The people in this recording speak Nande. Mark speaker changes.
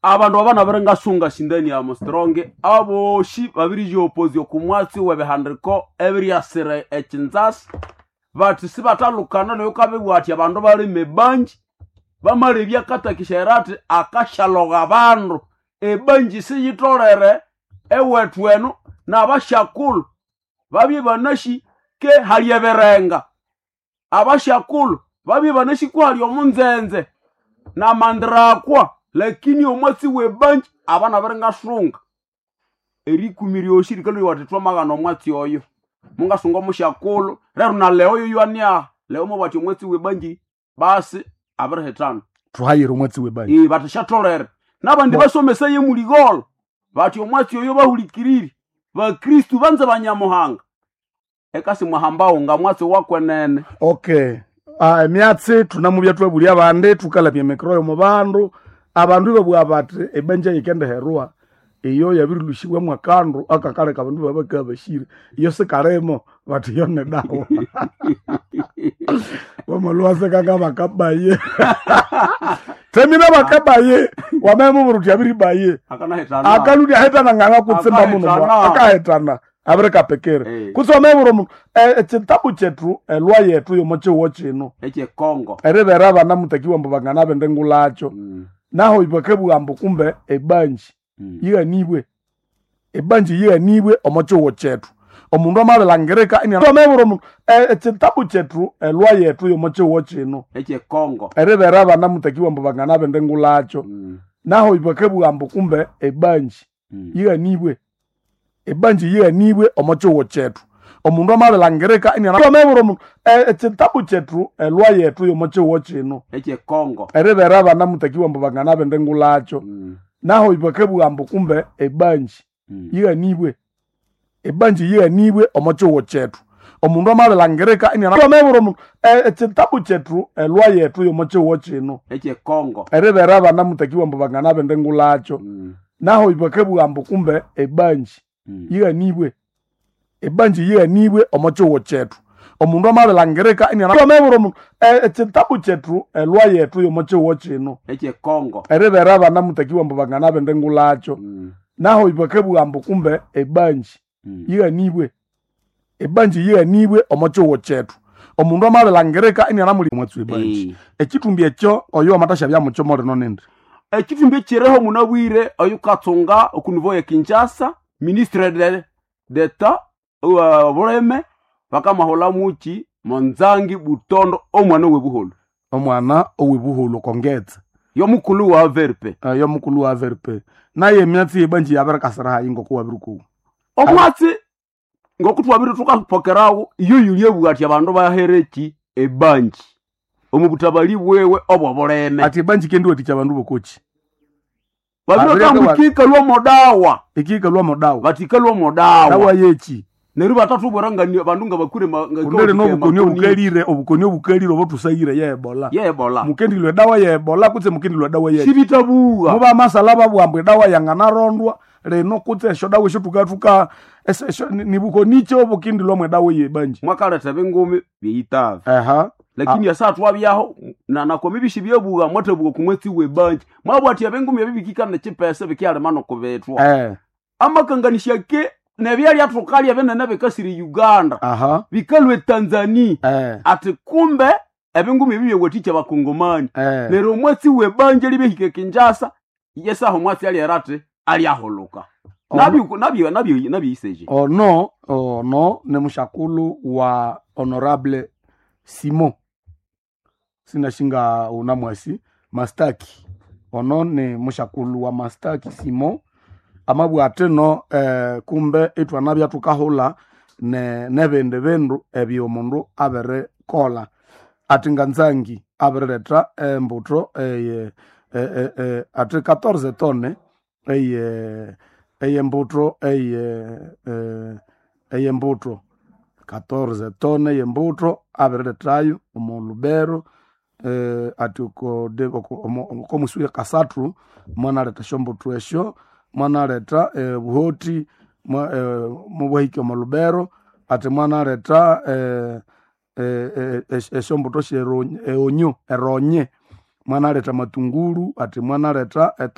Speaker 1: Abandu aba nabiringasunga shindani ya mostronge aboshi babirijiopozya oku mwatsi w'ebihandiko ebiryasira ekinzasi bati sibatalukana noyo kabibwa ati abandu balime ebanji bamalebya akatakisha ati akashalogha abandu ebanji siyitolere ewethu eno n'abashakulhu babye banashi ke hali ebirenga abashakulhu babye banashi ku hali omunzenze namandirakwa lakini omwatsi w'ebanji abana biringasunga erikumi ryoshi rikalwa ati twamaghana omwatsi oyo mungasunga omushakulhu rero na leo yoywania leo mubati omwatsi w'ebanji basi abirihitana
Speaker 2: Tuhayire omwatsi w'ebanji.
Speaker 1: Ee, bati shatolere n'abandi basomesa ye muligolo bati omwatsi oyo bahulikirire bakristu banze banyamuhanga ekasi mwahambawo nga mwatsi wakwenene.
Speaker 2: Okay. Ah, emyatsi tunamubya twabulya abandi tukalabya emikoro yomu bandu abandu ibabugha bati ebanja yikendiherwa iyo yabirilhushibwamu akandu akakaleka abandu babakabya bashire iyo sikalimo bati iyo nidawa wamalhuwasekanga bakabaye temina bakabaye wamemubwira uthi abiribaye
Speaker 1: akanahitana
Speaker 2: akaludi ahetana nganga kutsimba muno
Speaker 1: Akahitana.
Speaker 2: akahitana abirikapekere
Speaker 1: Eh.
Speaker 2: kutsi wamebwira omundu ekitabu kyethu elwa yethu yomo kyiwo kino
Speaker 1: ekyekongo
Speaker 2: eribera abana mutakiwa mbu bangana bende ngulakyo naho bakabugha mbu kumbe ebanji yighanibwe ebanji yighanibwe omo kyiwo kyethu omundu amabilangirika wamebwira omundu ekitabu kyethu elwa yethu yomo kyiwo kino
Speaker 1: ekyekongo
Speaker 2: eribera abana mutakiwa mbu bangana bende ngulakyo naho bakabugha mbu kumbe ebanji yighanibwe ebanji yighanibwe omo kyiwo kyethu omundu amabilangirika wamebwira omundu ekitabu kyethu elwa yethu yomo kyiwo kino
Speaker 1: ekyekongo
Speaker 2: eribera abana mutakiwa mbu bangana bende ngulakyo naho bakabugha mbu kumbe ebanji yighanibwe ebanji yighanibwe omo kyiwo kyethu omundu amabilangirika wamebwira omundu ekitabu kyethu elwa yethu yomo kyiwo kino
Speaker 1: ekyekongo
Speaker 2: eribera abana mutakiwa mbu bangana bende ngulakyo naho bakabugha mbu kumbe ebanji yighanibwe ebanji yighanibwe omo kyiwo kyethu omundu amabilangirika wamebwira omundu ekitabu kyethu elwa yethu yomo kyiwo kino
Speaker 1: ekyekongo
Speaker 2: eribera abana mutakiwa mbu bangana bende ngulakyo naho bakabugha mbu kumbe ebanji yighanibwe ebanji yighanibwe omo kyiwo kyethu omundu amabilangirika inianamuli mwatsi webanji ekitumbi ekyo oyo amatasha byamukyo molino nindi
Speaker 1: ekithumbi ekireho munabwire oyukatsunga okunivo ya Kinshasa ministre de d'etat wa buleme bakamahula muki monzangi butondo omwana webuholo
Speaker 2: omwana owebuholo kongetsa
Speaker 1: yomukulu wa verpe
Speaker 2: yo mukulu wa VRP naye emyatsi yebanji yabirikasira hayi ngoko wabirikuwa
Speaker 1: omwatsi ngoku twabiri tukapokerawo iyo yulye ati abandu bahereki ebanji omu butabali bwewe obwo buleme
Speaker 2: ati ebanji kendiwatikya abandu bokoki
Speaker 1: babirikambukika lwomodawa
Speaker 2: ikiikalwa modawa
Speaker 1: batika lwomodawa
Speaker 2: dawa yeki
Speaker 1: neryo batatubwera nga bandu nga bakure
Speaker 2: kundere nobukoni obukalire obukoni obukalire obotusayire ye ebola
Speaker 1: yebola
Speaker 2: mukendilwa edawa ye ebola kutse mukendilwa edawa ye
Speaker 1: sibitabuwa
Speaker 2: muba amasala babwamba edawa yanganarondwa lino kutse esyo dawa esyo tukatuka nibukonicho obukindilwamu edawa yebanji
Speaker 1: mwakaleta bingumi byeyitava
Speaker 2: aha
Speaker 1: lakini asa twabyaho nanakomi bishi byebuwa mwatabuwa kumwetsi webanji mwabwati abengumi ebibikikana chipesa bikyalema nokubetwa
Speaker 2: eh
Speaker 1: amakanganisha ke nebyalya tukalya binene bikasiri Uganda
Speaker 2: aha
Speaker 1: bikalwe Tanzania
Speaker 2: eh
Speaker 1: ati kumbe ebingumi ebi byewaticha bakongomani
Speaker 2: eh
Speaker 1: neryo omwatsi webanja libehike Kinshasa yesaho omwatsi alyera ati alyahuluka nabyo nabyo nabyo nabyiseje
Speaker 2: ono ono ne mushakulu wa honorable Simon sinashinga unamwasi mastaki ono ni mushakulu wa mastaki Simon amabwa ateno kumbe itwana tukahula ne nebindi bindu ebyo omundu abirikola ati nganzangi abirileta embuto eye ati 14 tone eye eyembuto eye eyembuto 14 tone eyembuto abiriletayo omu Lubero ati okomusuya kasathu mwanaleta esyombuto esyo mwanaleta buhoti mubwahike omu Lubero ati mwanaleta esyombuto syeronye eronye mwanaleta matungulu ati mwanaleta.